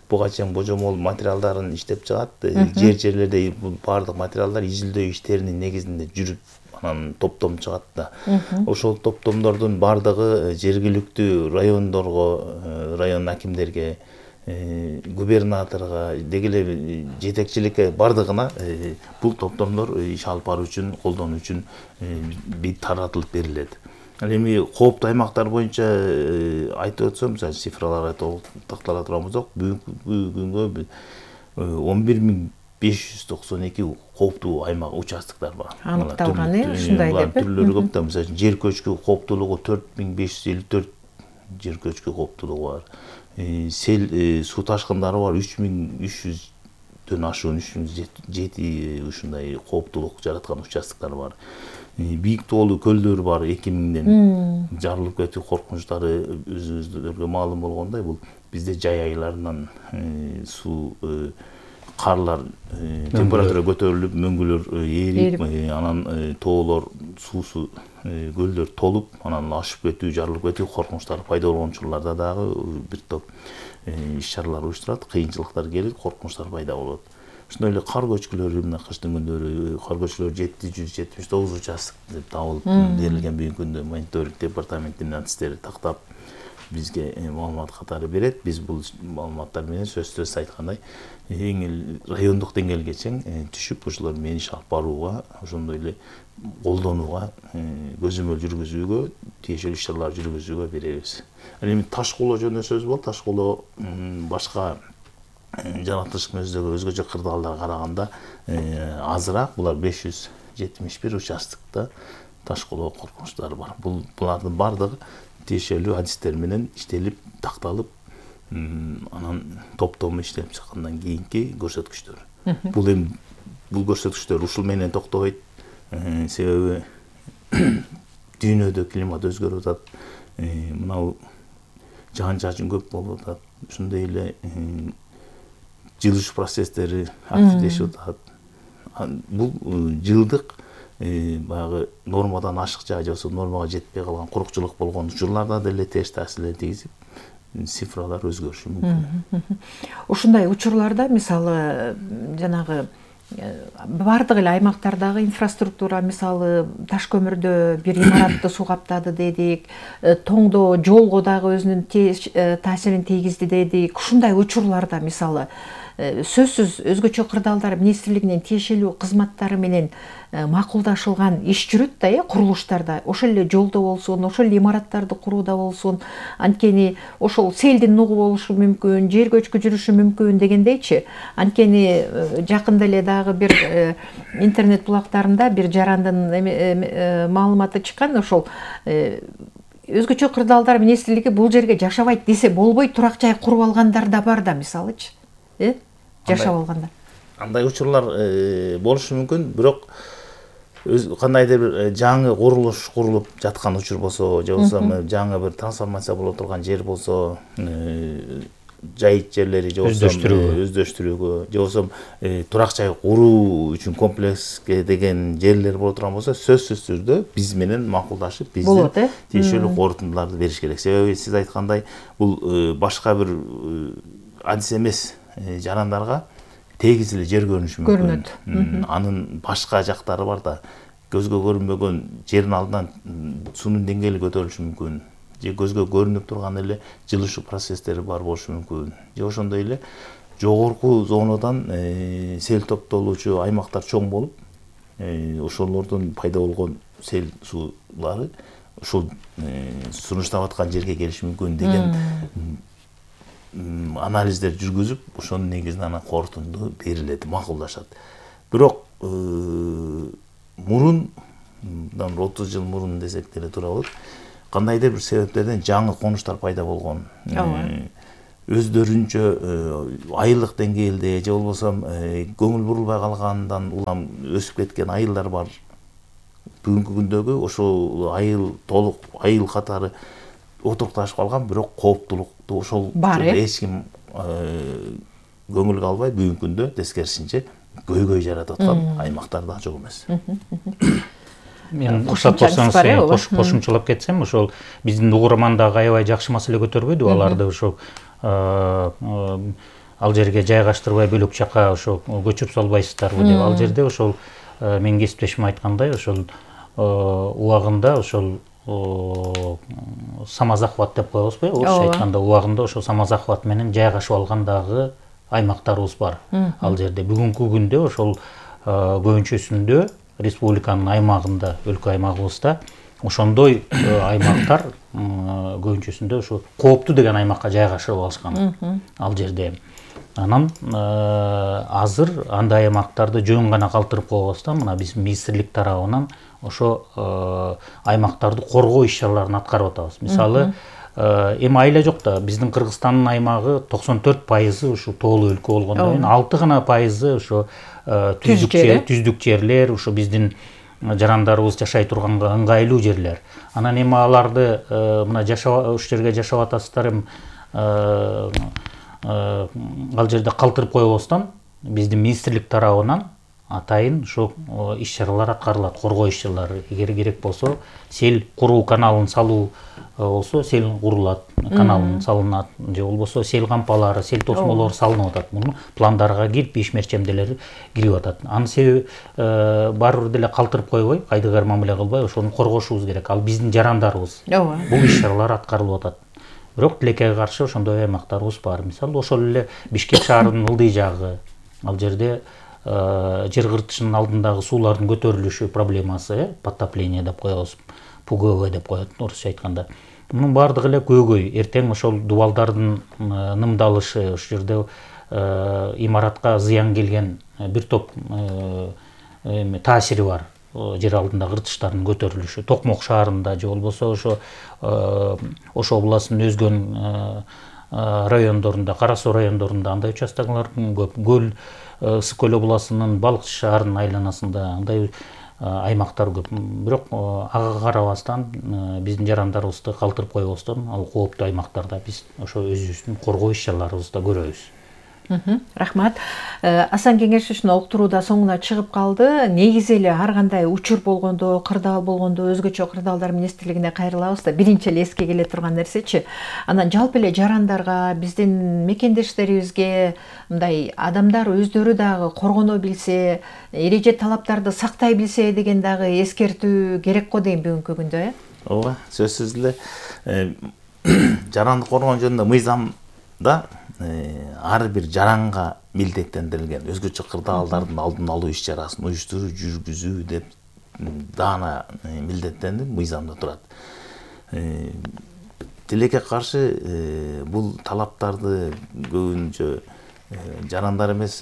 буга чейин божомол материалдарын иштеп чыгат. Жер жерлерде баардык материалдар изилдөө иштеринин негизинде жүрүп анан топтом чыгат да. Ошол топтомдордун баардыгы жергиликтүү райондорго, район акимдерге, губернаторго, деги эле жетекчиликке баардыгына бул топтомдор иш алып баруу үчүн, колдонуу үчүн таратылып берилет. Эми кооптуу аймактар боюнча айтып өтсөм, мисалы цифраларга токтоло турган болсок, бүгүнкү күнгө он бир миң беш жүз токсон эки кооптуу аймак участоктор бар. Аныкталган, э, ушундай деп. Түрлөрү көп да, мисалы жер көчкү кооптуулугу төрт миң беш жүз элүү төрт жер көчкү кооптуулугу бар. Сел суу ташкындары бар үч миң үч жүздөн ашуун үч жүз жети ушундай кооптуулук жараткан участоктор бар. Бийик тоолуу көлдөр бар, эки миңден жарылып кетүү коркунучтары өзүбүздөргө маалым болгондой, бул бизде жай айларынан суу карлар температура көтөрүлүп, мөңгүлөр ээрип, анан тоолор, суусу көлдөр толуп, анан ашып кетүү, жарылып кетүү коркунучтары пайда болгон учурларда дагы бир топ иш-чаралар уюштурат, кыйынчылыктар келип, коркунучтар пайда болот. Ошондой эле кар көчкүлөрү, мына кыштын күндөрү кар көчкүлөр жети жүз жетимиш тогуз участок деп табылып берилген. Бүгүнкү күндө мониторинг департаментинин артисттери тактап бизге маалымат катары берет. Биз бул маалыматтар менен сөзсүз айткандай эң эле райондук деңгээлге чейин түшүп, ошолор менен иш алып барууга, ошондой эле колдонууга, көзөмөл жүргүзүүгө, тиешелүү иш-чаралар жүргүзүүгө беребиз. Эми таш кулоо жөнүндө сөз болду. Таш кулоо башка жаратылыш көздөөгө өзгөчө кырдаалдарга караганда азыраак. Булар беш жүз жетимиш бир участокто таш кулоо коркунучтары бар. Бул булардын баардыгы тиешелүү адистер менен иштелип, такталып, анан топтому иштелип чыккандан кийинки көрсөткүчтөр. Бул эми бул көрсөткүчтөр ушул менен токтобойт. Себеби дүйнөдө климат өзгөрүп атат. Мынау жаан-чачын көп болуп атат. Ошондой эле жылыш процесстери активдешип атат. Бул жылдык баягы нормадан ашыкча же болбосо нормага жетпей калган курукчулук болгон учурларда деле терс таасирин тийгизип, цифралар өзгөрүшү мүмкүн. Ушундай учурларда мисалы жанагы баардык эле аймактардагы инфраструктура, мисалы таш көмүрдө бир имаратты суу каптады дедик, тоңдо жолго дагы өзүнүн таасирин тийгизди дедик. Ушундай учурларда мисалы сөзсүз өзгөчө кырдаалдар министрлигинин тиешелүү кызматтары менен макулдашылган иш жүрөт да, э, курулуштарда. Ошол эле жолдо болсун, ошол эле имараттарды курууда болсун, анткени ошол селдин нугу болушу мүмкүн, жер көчкү жүрүшү мүмкүн дегендейчи. Анткени жакында эле дагы бир интернет булактарында бир жарандын маалыматы чыккан, ошол өзгөчө кырдаалдар министрлиги бул жерге жашабайт десе болбой турак жай куруп алгандар да бар да, мисалычы. Э? Жашап алганда. Андай учурлар болушу мүмкүн, бирок кандайдыр бир жаңы курулуш курулуп жаткан учур болсо, же болбосо жаңы бир трансформация боло турган жер болсо, жайыт жерлери же болбосо өздөштүрүүгө, же болбосо турак жай куруу үчүн комплекске деген жерлер боло турган болсо, сөзсүз түрдө биз менен макулдашып, биздин тиешелүү корутундуларды бериш керек. Себеби сиз айткандай, бул башка бир адис эмес жарандарга тегиз эле жер көрүнүшү мүмкүн. Анын башка жактары бар да, көзгө көрүнбөгөн жердин алдынан суунун деңгээли көтөрүлүшү мүмкүн. Же көзгө көрүнүп турган эле жылышуу процесстери бар болушу мүмкүн. Же ошондой эле жогорку зонадан сел топтолуучу аймактар чоң болуп, ошолордон пайда болгон сел суулары ушул сунуштап аткан жерге келиши мүмкүн деген анализдер жүргүзүп, ошонун негизинде анан корутунду берилет, макулдашат. Бирок мурун, мындан отуз жыл мурун десек деле туура болот, кандайдыр бир себептерден жаңы конуштар пайда болгон. Өздөрүнчө айылдык деңгээлде же болбосо көңүл бурулбай калгандан улам өсүп кеткен айылдар бар. Бүгүнкү күндөгү ошол айыл толук айыл катары отурукташып калган, бирок кооптулукту ошол эч ким көңүлгө албай, бүгүнкү күндө тескерисинче көйгөй жаратып аткан аймактар да жок эмес. Мен уруксат болсоңуз кошумчалап кетсем, ошол биздин угурман дагы аябай жакшы маселе көтөрбөйдү, аларды ошол ал жерге жайгаштырбай бөлөк жака ошо көчүрүп салбайсыздарбы деп. Ал жерде ошол менин кесиптешим айткандай, ошол убагында ошол самозахват деп коебузбу, орусча айтканда убагында ошол самозахват менен жайгашып алган дагы аймактарыбыз бар. Ал жерде бүгүнкү күндө ошол көбүнчөсүндө республиканын аймагында, өлкө аймагыбызда ошондой аймактар көбүнчөсүндө ошо кооптуу деген аймакка жайгашып алышкан. Ал жерде анан азыр андай аймактарды жөн гана калтырып койбостон, мына биз министрлик тарабынан ошо аймактарды коргоо иш-чараларын аткарып атабыз. Мисалы, эми айла жок да, биздин Кыргызстандын аймагы токсон төрт пайызы ушу тоолуу өлкө болгондон кийин алты гана пайызы ошо түздүк жерлер, ушу биздин жарандарыбыз жашай турганга ыңгайлуу жерлер. Анан эми аларды мына жашап ушул жерге жашап атасыздар, эми ал жерде калтырып койбостон биздин министрлик тарабынан атайын ошо иш-чаралар аткарылат, коргоо иш-чаралары. Эгер керек болсо, сел куруу каналын салуу болсо, сел курулат, каналын салынат, же болбосо сел кампалары, сел тосмолору салынып атат. Муну пландарга кирип, ишмерчемделери кирип атат. Анын себеби баары бир деле калтырып койбой, кайдыгар мамиле кылбай, ошону коргошубуз керек. Ал биздин жарандарыбыз. Бул иш-чаралар аткарылып атат. Бирок тилекке каршы ошондой аймактарыбыз бар. Мисалы, ошол эле Бишкек шаарынын ылдый жагы, ал жерде жер кыртышынын алдындагы суулардын көтөрүлүшү проблемасы, подтопление деп коебуз, ПГВ деп коет орусча айтканда. Мунун баардыгы эле көйгөй. Эртең ошол дубалдардын нымдалышы, ошол жерде имаратка зыян келген бир топ таасири бар. Жер алдында кыртыштардын көтөрүлүшү, Токмок шаарында же болбосо ошо Ош областынын өзгөн райондорунда, Кара Суу райондорунда андай участоктор көп. Көл Ысык көл областынын Балыкчы шаарынын айланасында андай аймактар көп. Бирок ага карабастан биздин жарандарыбызды калтырып койбостон, ал кооптуу аймактарда биз ошо өзүбүздүн коргоо иш-чараларыбызды көрөбүз. Рахмат. Асан Кеңеш ушуну уктурууда соңуна чыгып калды. Негизи эле ар кандай учур болгондо, кырдаал болгондо өзгөчө кырдаалдар министрлигине кайрылабыз да, биринчи эле эске келе турган нерсечи. Анан жалпы эле жарандарга, биздин мекендештерибизге мындай адамдар өздөрү дагы коргоно билсе, эреже талаптарды сактай билсе деген дагы эскертүү керек го дейм бүгүнкү күндө, э? Ооба, сөзсүз эле жаранды коргоо жөнүндө мыйзамда ар бир жаранга милдеттендирилген өзгөчө кырдаалдардын алдын алуу иш-чарасын уюштуруу, жүргүзүү деп даана милдеттенип мыйзамда турат. Тилекке каршы бул талаптарды көбүнчө жарандар эмес,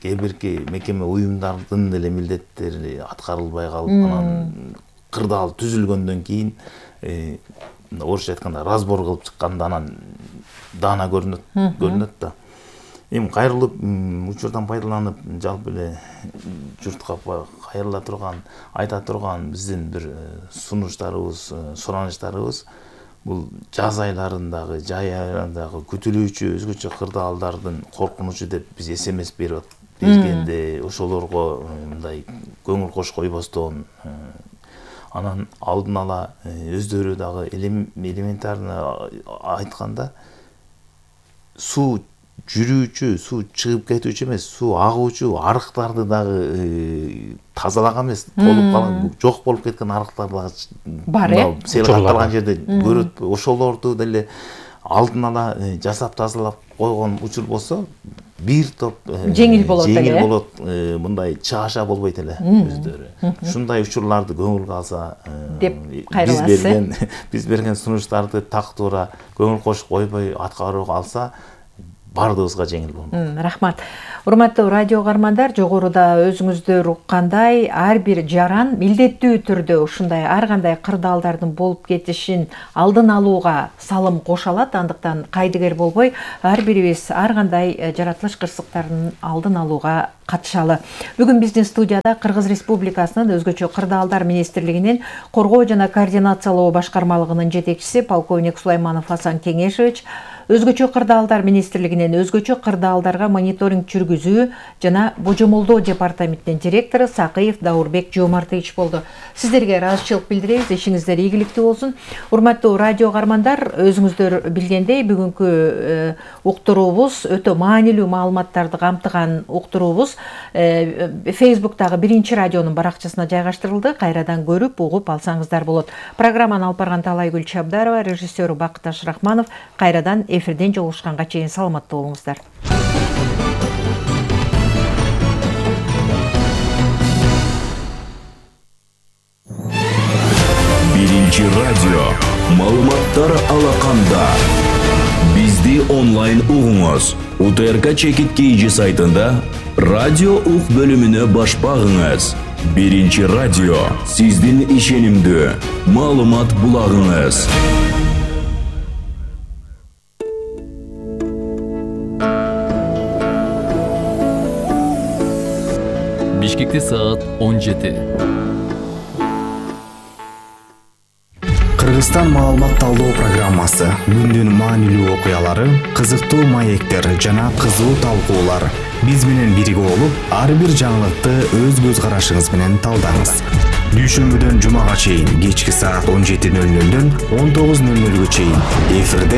кээ бирки мекеме уюмдардын деле милдеттери аткарылбай калып, анан кырдаал түзүлгөндөн кийин орусча айтканда разбор кылып чыкканда анан даана көрүнөт көрүнөт да. Эми кайрылып учурдан пайдаланып жалпы эле журтка кайрыла турган, айта турган биздин бир сунуштарыбыз, суранычтарыбыз бул жаз айларындагы, жай айларындагы күтүлүүчү өзгөчө кырдаалдардын коркунучу деп биз эс эм эс берип бергенде ошолорго мындай көңүл кош койбостон, анан алдын ала өздөрү дагы элементарно айтканда суу жүрүүчү, суу чыгып кетүүчү эмес, суу агуучу арыктарды дагы тазалаган эмес, толуп калган, жок болуп кеткен арыктар дагы бар, э? Сел катталган жерде көрөт. Ошолорду деле алдын ала жасап тазалап койгон учур болсо, бир топ жеңил болот эле. жеңил болот, мындай чааша болбойт эле өздөрү. Ушундай учурларды көңүлгө алса деп биз кайрыласыз. берген биз берген сунуштарды так туура көңүл кошуп койбой аткарууга алса баардыгыбызга жеңил болмок. Рахмат. Урматтуу радио каармандар, жогоруда өзүңүздөр уккандай ар бир жаран милдеттүү түрдө ушундай ар кандай кырдаалдардын болуп кетишин алдын алууга салым кошо алат. Андыктан кайдыгер болбой ар бирибиз ар кандай жаратылыш кырсыктарын алдын алууга катышалы. Бүгүн биздин студияда Кыргыз Республикасынын өзгөчө кырдаалдар министрлигинин коргоо жана координациялоо башкармалыгынын жетекчиси полковник Сулайманов Асан Кеңешевич, өзгөчө кырдаалдар министрлигинин өзгөчө кырдаалдарга мониторинг жүргүзүү жана божомолдоо департаментинин директору Сакыев Даурбек Жомартович болду. Сиздерге ыраазычылык билдиребиз, ишиңиздер ийгиликтүү болсун. Урматтуу радио каармандар, өзүңүздөр билгендей бүгүнкү уктуруубуз өтө маанилүү маалыматтарды камтыган уктуруубуз Facebook'тагы биринчи радионун баракчасына жайгаштырылды. Кайрадан көрүп, угуп алсаңыздар болот. Программаны алып барган Талайгүл Чабдарова, режиссеру Бакыташ Рахманов. Кайрадан эфирден жолугушканга чейин саламатта болуңуздар. Биринчи радио. Маалыматтар алаканда. Бизди онлайн угуңуз. У Т Р К Чекит Кийжи сайтында радио ук бөлүмүнө баш багыңыз. Биринчи радио. Сиздин ишенимдүү маалымат булагыңыз. Бишкекте саат он жети. Кыргызстан маалымат талдоо программасы күндүн маанилүү окуялары, кызыктуу маектер жана кызуу талкуулар. Биз менен бирге болуп, ар бир жаңылыкты өз көз карашыңыз менен талдаңыз. Дүйшөмбүдөн жумага чейин кечки саат он жети нөл нөлдөн он тогуз нөл нөлгө чейин эфирде